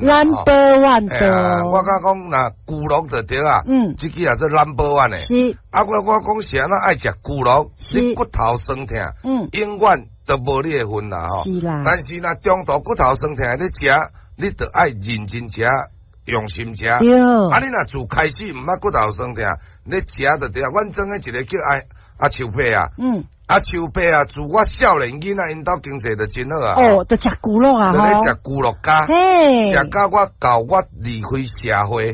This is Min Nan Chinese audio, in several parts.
啦。 Number one 的。我敢講，若牛肉就對啊。這支也做 number one 的。啊，我講是按怎愛食牛肉，你骨頭酸痛，永遠都無你的份啦吼。是啦。但是若中途骨頭酸痛你食，你就愛認真食，用心食。啊，你若自開始毋捌骨頭酸痛，你食就對啊。阮庄的一個叫阿秋伯啊。阿秋伯啊，自我少年囡仔，𪜶兜經濟就真好啊。哦，就食牛肉啊，就咧食牛肉膠，食到我到我離開社會，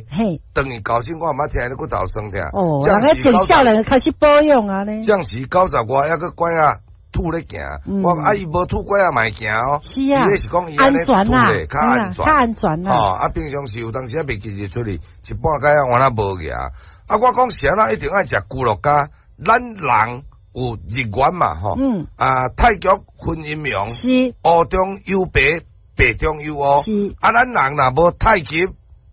轉去到今我毋捌聽咧骨頭酸痛。哦，人家從少年就開始保養啊呢。這時90外，猶閣拐仔拄咧行，我啊伊無拄拐仔嘛會行哦。伊咧是講伊按呢拄咧較安全，較安全啦。哦，啊平常時有當時啊袂記得出去，一半擺仔原來無行。啊，我講是按怎一定愛食牛肉膠，咱人有日元嘛吼，啊太極分陰陽，烏中有白，白中有烏，啊咱人若無太極，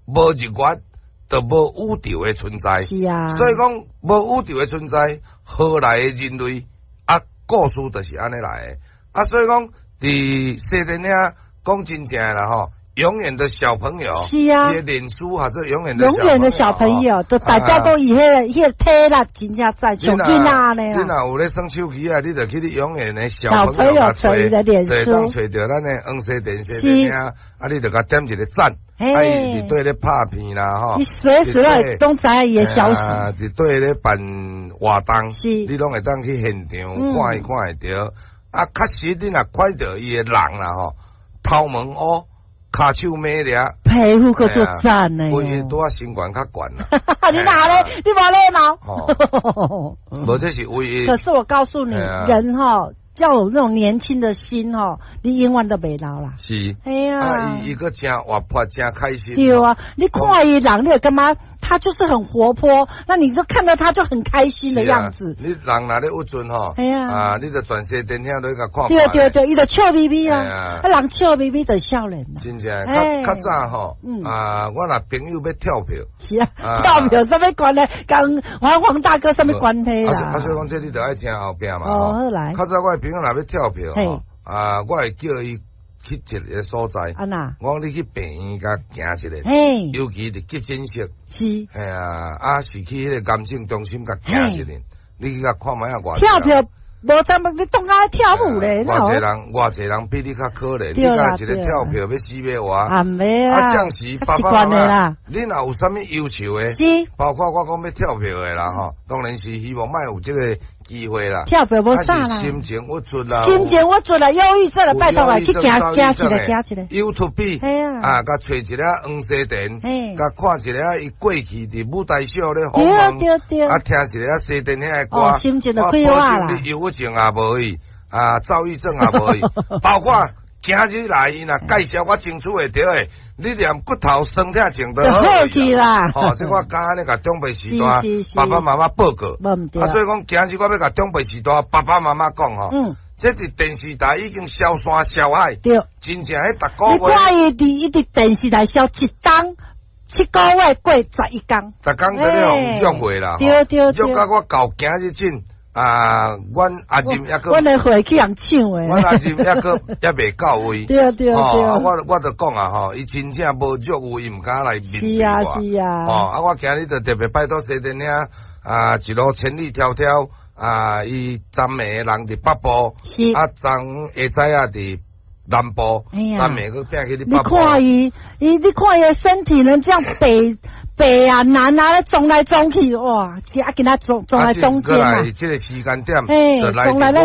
無日月，就無宇宙的存在。所以講無宇宙的存在，何來的人類？啊，故事就是按呢來的。啊，所以講佇西電影講真正的啦吼，永遠的小朋友，伊的臉書或者永遠的永遠的小朋友，就大家都以彼個體力真正在上囡仔呢。你若有咧耍手機啊，你就去你永遠的小朋友揣伊的臉書，當揣著咱的黃西電西電影，啊，你就共點一個讚，啊，伊佇底咧拍片啦，吼。你隨時攏知伊的消息。佇底咧辦活動，你攏會當去現場看伊看會著。啊，確實你若看著伊的人啦，吼，頭毛烏，跤手美掠，皮膚閣足讚呢。規個拄仔身懸較懸啦。你哪咧？你無禮貌。無，這是唯一。可是我告訴你，人哈要有那種年輕的心吼，你永遠都袂老啦。是。哎呀。啊，伊閣誠活潑，誠開心。對啊，你看伊人，你會感覺他就是很活潑，那你就看到他就很開心的樣子。你人若咧鬱陣吼，啊，你就全西電影都共看。對對對，伊就笑眯眯啊，啊，人笑眯眯就少年啦。真正，較較早吼，啊，我若朋友欲跳票。是啊，跳票啥物關係？佇黃黃大哥啥物關係啦？啊，所以講這你就愛聽後壁嘛。哦，好來。較早我的朋友若欲跳票吼，啊，我會叫伊去一個所在。按怎？我講你去病院共行一下，尤其佇急診室。嘿啊，啊是去彼個癌症中心共行一下，你去共看覓仔偌。跳票無啥物，你當愛跳舞咧？偌濟人，偌濟人比你較可憐。你敢一個跳票欲死欲活？啊，袂啊！啊，這時爸爸媽媽，你若有啥物要求的？包括我講欲跳票的啦，吼，當然是希望莫有這個機會啦。跳票無啥啦。心情鬱卒啦。心情鬱卒啦，憂鬱症啦，拜託啊，去行行一下，行一下。 YouTube 啊，共揣一個黃西田，共看一下伊過去佇舞台上咧訪問，啊，聽一下西電影的歌，心情就快活啦。你憂鬱症也無去，啊，躁鬱症也無去，包括今日來伊若介紹我爭取會著的，你連骨頭酸痛症都好去啦。吼，這我敢按呢共長輩時代爸爸媽媽報告。啊，所以講今日我欲共長輩時代爸爸媽媽講吼，這佇電視台已經銷山銷海，真正彼逐個月。你看伊佇電視台銷一冬7個月過11工。逐工佇咧予約會啦，對對對。約到我到今日陣。啊，阮阿任猶閣，阮的會去人搶的，阮阿任猶閣猶未到位。啊，我就講啊吼，伊真正無約有，伊毋敢來面對我。哦，啊，我今日就特別拜託西電影啊，一路千里迢迢啊，伊昨暝人佇北部，啊，昨下早啊佇南部，昨暝閣拼去你北部。你看伊，伊你看伊的身體能這樣北北啊南啊，撞來撞去，哇！啊，今仔撞撞來中間啊。這個時間點，就來咱個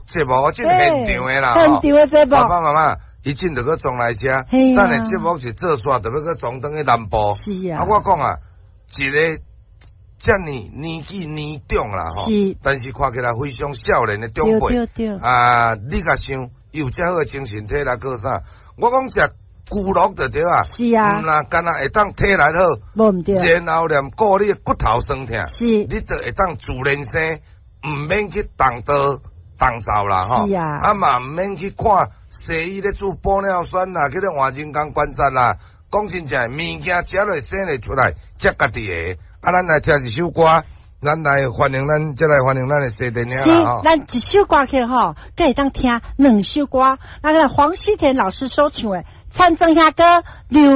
節目，這現場的啦，現場的節目。爸爸媽媽，伊進就閣撞來遮，等下節目一做煞，就欲閣撞轉去南部。是啊。啊，我講啊，一個遮爾年紀年長啦，吼，但是看起來非常少年的長輩，啊，你共想，伊有遮好的精神體力，閣啥？我講食牛肉就對啊，是啊，毋若干焦會當體力好，無毋對，然後連顧你的骨頭酸痛，你就會當自然生，毋免去動刀動灶啦，吼，是啊，啊嘛毋免去看西醫咧注玻尿酸啦，去咧換人工關節啦。講真正，物件食落生會出來，才家己的。啊，咱來聽一首歌，咱來歡迎咱，再來歡迎咱的西電影是，咱一首歌曲吼，閣會當聽兩首歌。那個黃西田老師所唱的《田庄兄歌》劉。